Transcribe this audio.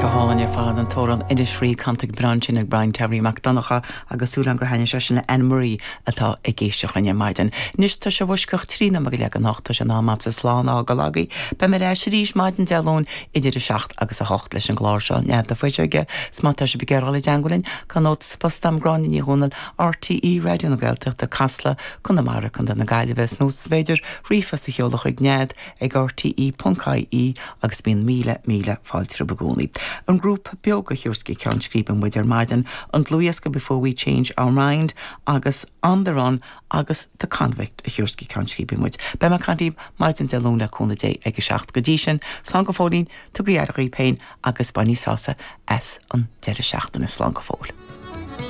Go hálainn ar fad, an t-amhrán Inis Rí canta go breá ansin ag Brian Toirí Mac Donncha agus súil agam gur thaitnigh sé sin le Anne Marie atá ag éisteacht linn ar maidin. Anois tá sé i bhfoisceacht 13 nóiméad go leath don hocht, tá sé in am agamsa slán a fhágáil agaibh. Beidh mé ar ais arís maidin Dé Luain idir 7 agus 8 leis an gclár seo, Nead na Fuiseoige, 's má tá sibh ag iarraidh dul i dteangmháil linn, cuir nóta sa phost dom, Gráinne Ní Dhomhnaill, RTÉ Raidió na Gaeltachta, Casla, Conamara, Co. na Gaillimhe, nó is féidir ríomhphost a sheoladh chuig nead ag rte.ie agus bíonn míle, míle fáilte romhaibh i gcónaí. An grúpa Beoga a thabharfas go ceann scríbe muid ar maidin, an dlúthdhiosca Before We Change Our Mind agus On The Run agus The Convict a thabharfas go ceann scríbe muid. Beidh mé ag caint libh maidin Dé Luain le cúnamh Dé ag a 7. Go dtí sin, slán go fóillín, tugaigí aire dhaoibh féin agus bainigí sásamh as an deireadh seachtaine. Slán go fóill.